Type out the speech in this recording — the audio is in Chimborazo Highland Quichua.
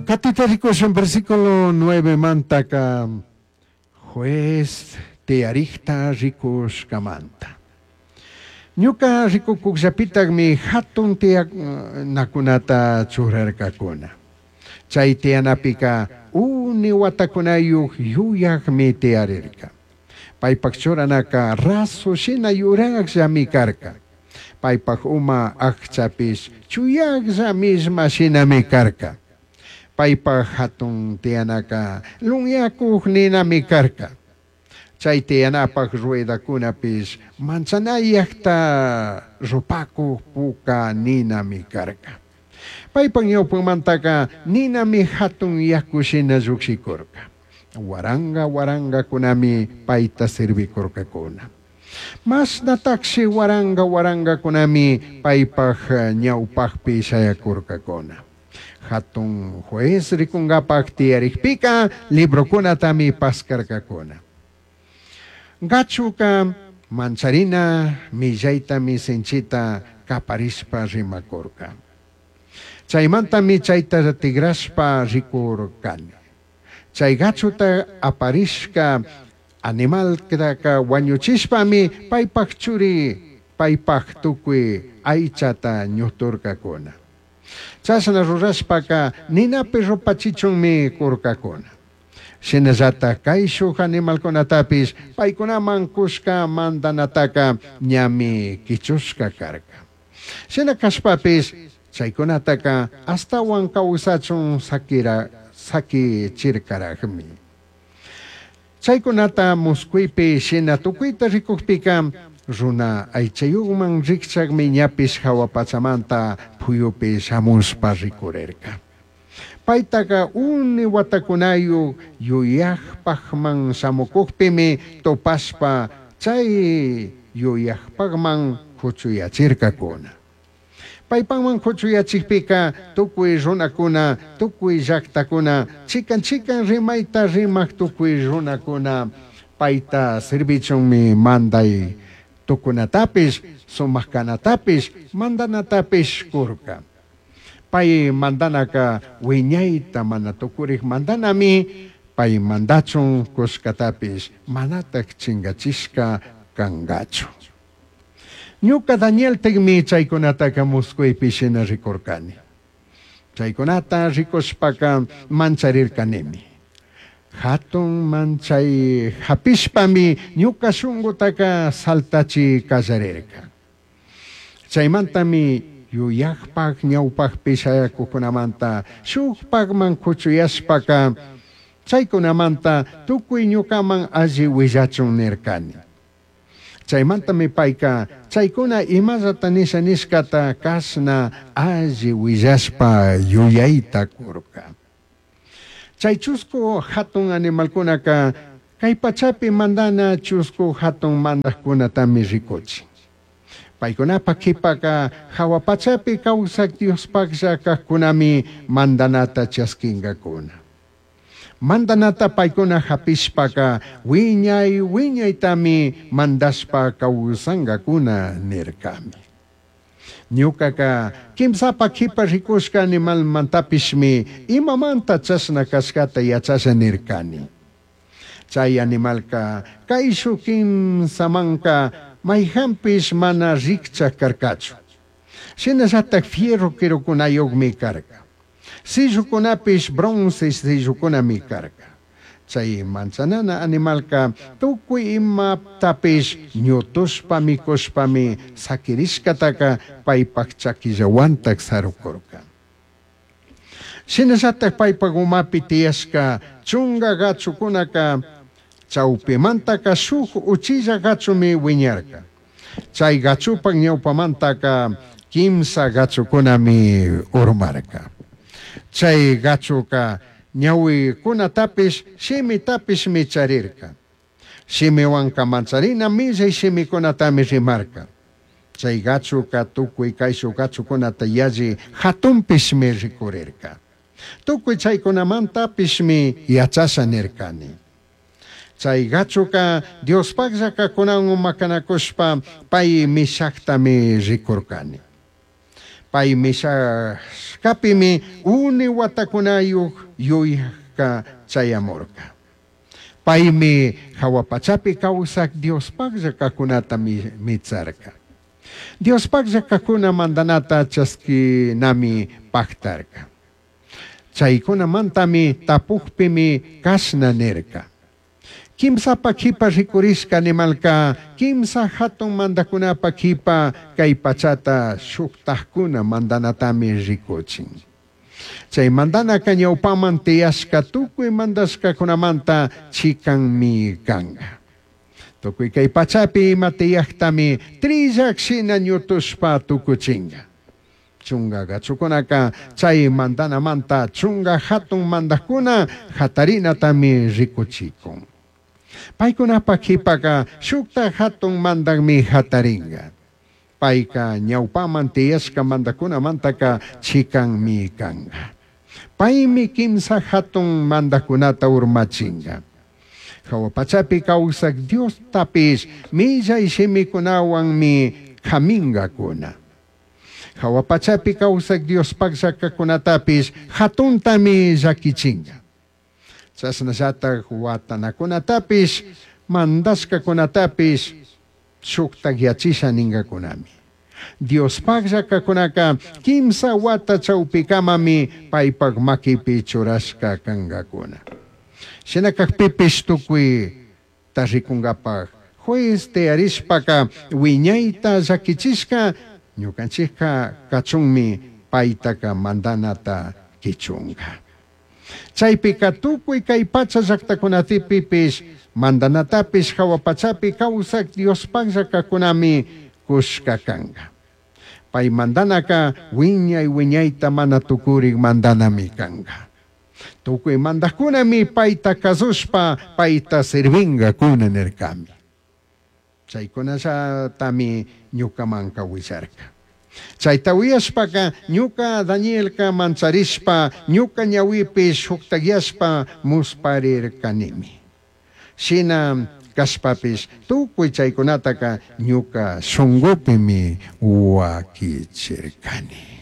Katita rikushun versículo 9 mantaka juez tiyarikta rikushkamanta. Ñuka rikukukllapitaqmi hatun tiyanakunata churarkakuna. Chay tiyanapika uni watakunayuq yuyaqmi tiyarirka. Paypaq churanaka rasu shina yuraqllami karka. Paypaq uma aqchapish chuyaqlla millma shinami karka. Paypaq hatun tiyanaka lunyakuq ninami karka. Chay tiyanapaq ruedakunapish manchanayaqta rupakuq puka ninami karka. Paypaq ñawpanmantaka ninami hatun yaku shina llukshikurka. Waranga warangakunami payta servikurkakuna. Mashnatashi waranga warangakunami paypaq ñawpaqpi shayakurkakuna. Hatun juez rikunkapak tiyarikpika librokunatami paskarkakuna. Gachuka mancharina millaytami sinchita kaparishpa rimakurka. Chaymantami chayta tigrashpa rikurkani. Chay gachuta aparishka animaltaka wañuchishpami paypaq churi paypaq tukuy aychata ñuturkakuna. Chashna rurashpaka ninapi rupachichunmi kurkakuna. Shinallata kayshuk animalkunatapish paykunaman kushka mandanataka ñami kichushka karka. Shina kashpapish chaykunataka astawan kawsachun sakira sakichirkaraqmi. Chaykunata muskuypi shina tukuyta rikukpika runa aychayuqman rikchaqmi ñapish hawa pachamanta phuyupi shamushpa rikurirka. Paytaqa uni watakunayuq yuyaqpaqman shamukuqpimi tupashpa chay yuyaqpaqman huchuyachirkakuna. Paypaqman huchuyachikpika tukuy runakuna, tukuy llaqtakuna, chikan chikan rimayta rimaq tukuy runakuna payta servichunmi manday tukunatapish, sumaq kanatapish, mandanatapish kurka. Pay mandanaka wiñayta mana tukurik mandanami, pay mandachun kushkatapish manataq chinkachishka kankachu. Ñuka Danieltaqmi chaykunataka muskuypi shina rikurkani. Chaykunata rikushpaka mancharirkanimi. Hatun manchay hapishpami ñuka shunqutaka saltachi qallarirka. Chaymantami yuyaqpaq ñawpaqpi shayakuqkunamanta shukpaqman kuchuyashpaka chaykunamanta tukuy ñukaman alli willachun nirkani. Chaymantami payka chaykuna imallata nisha nishkata kashna alli willashpa yuyayta kurka. Chay chusku hatun animalkunaka kay pachapi mandana chusku hatun mandaqkunatami rikuchin. Paykunapaq qhipaka hawa pachapi kawsaq Diospaqlla kaqkunami mandanata chaskinkakuna. Mandanata paykuna hapishpaka wiñay wiñaytami mandashpa kawsankakuna nirkami. Ñukaka kimsapa qhipa rikushka animalmantapishmi imamanta chashna kashkata yachasha nirkani. Chay animalka kayshuk kimsamanka mayhanpish mana rikchaq karkachu. Shinallatak fierro quirukunayuqmi karka. Sillukunapish bronce sillukunami karka. Chay manchanana animalka tukuy imatapish ñutushpa mikushpami sakirishkataka paypaq chakillawantak sarukurka. Shinallatak paypaq umapi tiyashka chunka gachukunaka chawpimantaka shuk uchilla gachumi wiñarka. Chay gachupak ñawpamantaka kimsa gachukunami urmarka. Chay gachuka ñawikunatapish shimitapishmi charirka. Shimiwanka mancharina millay shimikunatami rimarka. Chay gachuka tukuy kayshuk gachukunata yalli hatunpishmi rikurirka. Tukuy chaykunamantapishmi yachasha nirkani. Chay gachuka Diospaqlla kaqkunawan makanakushpa pay mishaqtami rikurkani. Pai mishashcapimi uni huatacunayuj yuyajca chayamurca. Paimi jahua pachapi causaj Diospajlla cajcunata mitsarca. Diospajlla cajcuna mandanata chasquinami pajtarca. Chaicunamantami tapujpimi cashna nirca. Quimsapa quipa ricurishca animalca quimsa jatun mandajcunapa quipa cai pachata shujtajcuna mandanatami ricuchin. Chai mandanaca ñaupaman tiyashca tucui mandashcacunamanta chicanmi canga. Tucui cai pachapi ima tiyajtami trillaj shina ñutushpa tucuchinga. Chunga gachucunaca chai mandanamanta chunga jatun mandajcuna jatarinatami ricuchicun. Paicunapaj quipaca shujtaj jatun mandajmi jataringa. Paica ñaupaman tiyashca mandajcunamantaca chicanmi canga. Paimi quimsa jatun mandajcunata urmachinga. Jahua pachapi causaj Diostapish millai shimicunahuanmi camingacuna. Jahua pachapi causaj Diospaj llacacunatapish jatuntami llaquichinga. Chashnallataj huatanacunatapish mandashcacunatapish shujtajyachisha ningacunami. Diospaj llacacunaca quimsa huata chaupicamami paipaj maquipi churashca cangacuna. Shina cajpipish tucuita ricungapaj juez tiyarishpaca huiñaita llaquichishca ñucanchijca cachunmi paitaca mandanata quichunga. Chaipica tucui cai pacha llajtacunatipipish mandanatapish jahua pachapi causaj Diospaj llacacunami cushca canga. Pai mandanaca huiñai huiñaita mana tucurij mandanami canga. Tucui mandajcunami paita cazushpa paita sirvingacuna nircami. Chaicunallatami ñucamanca huillarca. Chaita uyashpaca ñuca Danielca mancharishpa ñuca ñahuipi shujtajyashpa musparircanimi. Shina cashpapish tucui chaicunataca ñuca shungupimi huaquichircani.